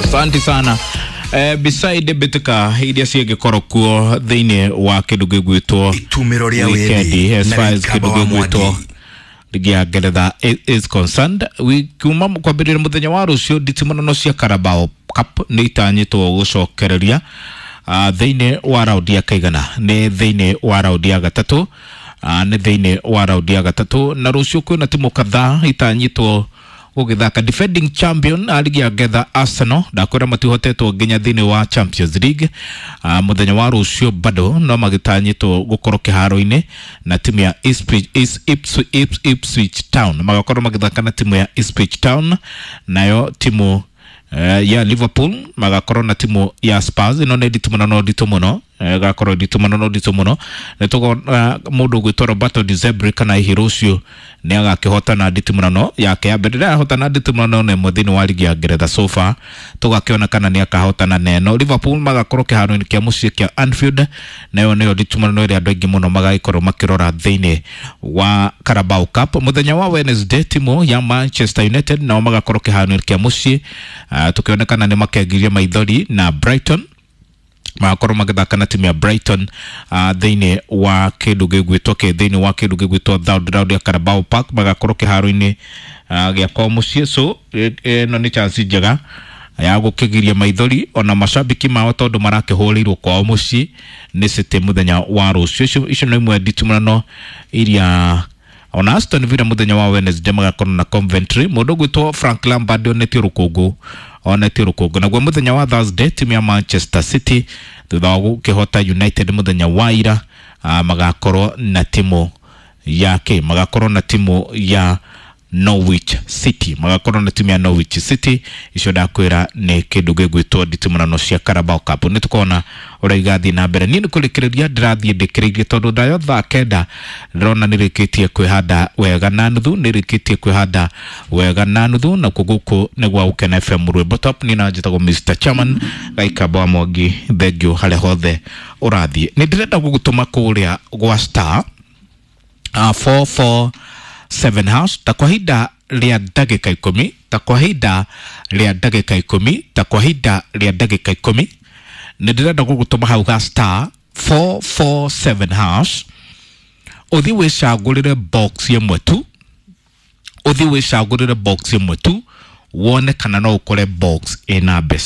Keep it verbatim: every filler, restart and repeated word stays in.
Asante sana. Eh, beside mbĩtĩka iria ciĩngĩkorwo kuo thĩinĩ wa kĩndũ gĩgwĩtwo Itumĩro rĩa weekend, wĩthĩ as na far as Gĩkamba kĩndũ wa gĩgwĩtwo Mwangi. ligi ya Ngeretha i- is concerned, kuma kwambĩrĩria mũthenya wa rũciũ, nditimũrano cia Carabao Cup nĩ itanyĩtwo gũcokereria uh, thĩinĩ wa raundi ya kaigana, nĩ thĩinĩ wa raundi ya gatatũ, uh, nĩ thĩinĩ wa raundi ya gatatũ, na rũciũ kwĩna timu kadhaa itanyĩtwo gũgĩthaka. Defending champion a ligi ya Ngeretha, Arsenal, ndakwĩra matihotetwo nginya thĩinĩ wa Champions League. uh, mũthenya wa rũciũ bado no magĩtanyĩtwo gũkorwo kĩharo-inĩ na timu ya Ipswich, Ipswich, Ipswich, Ipswich Town, magakorwo magĩthaka na timu ya Ipswich Town. Nayo timu eh, ya Liverpool magakorwo na timu ya Spurs. Ĩno nĩ nditũ mũno, no nditũ mũno, eh, gakorwo nditũ mũno, no nditũ mũno. Nĩ tũkona mũndũ ũgwĩtwo Roberto De Zerbi kana hihi rũciũ nĩ agakĩhotana nditimũrano yake ya mbere. Ndarahotana nditimũrano na ĩmwe thĩinĩ wa ligi ya Ngeretha so far, tũgakĩona kana nĩ akahotana na ĩno. Liverpool magakorwo kĩharo-inĩ kĩa mũciĩ kĩa Anfield, nayo nĩyo nditimũrano ĩrĩa andũ aingĩ mũno magagĩkorwo makĩrora thĩinĩ wa Carabao Cup. Mũthenya wa Wednesday, timu ya Manchester United nao magakorwo kĩharo-inĩ kĩa mũciĩ, uh, tukĩonekana nĩ makengirie maithori na Brighton, magakorwo magĩthaka na timu ya Brighton uh, thĩinĩ wa kĩndũ gĩgwĩtwo kĩ thĩinĩ wa kĩndũ gĩgwĩtwo third round ya Carabao Park, magakorwo kĩharo-inĩ uh, gĩa kwao mũciĩ. So ĩno nĩ chance njega ya gũkĩgiria maithori ona macambĩki mao, tondũ marakĩhũrĩirwo kwao mũciĩ nĩ City mũthenya wa rũciũ. Icio icio nĩ imwe nditimũrano iria. Ona Aston Villa mũthenya wa Wednesday magakorwo na Coventry. Mũndũ ũgwĩtwo Frank Lampard onetio rũkũngũ onetio rũkũngũ. Naguo mũthenya wa Thursday, timu ya Manchester City, thutha wa gũkĩhota United mũthenya wa ira, uh, magakorwo na timu yake magakorwo na timu ya Norwich City magakorwo na timu ya Norwich City. Icio ndakwĩra nĩ kĩndũ gĩgwĩtwo nditimũrano cia Carabao Cup. Nĩ tũkona ũrĩa igathiĩ na mbere. Niĩ nĩ kũrĩkĩrĩria ndĩrathiĩ ndĩkĩrĩirie, tondũ ndayo thaa kenda ndĩrona nĩ rĩkĩtie kwĩhanda wega na nuthu, nĩ rĩkĩtie kwĩhanda wega na nuthu. Nakuo gũkũ nĩ gwa Gũkena F M, rwĩmbo top. Niĩ na njĩtagwo Mister Chairman Gaikamba wa Mwangi. Thengiũ harĩa hothe ũrathiĩ. Nĩ ndĩrenda gũgũtũma kũrĩa gwa star uh, four four seven hash, ta kwa ihinda rĩa ndagĩka ikũmi, ta kwa ihinda rĩa ndagĩka ikũmi, ta kwa ihinda rĩa ndagĩka ikũmi nĩ ndĩrenda gũgũtũma hau ga star four four seven hash, ũthiĩ wĩcagũrĩre box ĩmwe tu, ũthiĩ wĩcagũrĩre box ĩmwe tu, wone kana no ũkore box ĩna mbeca.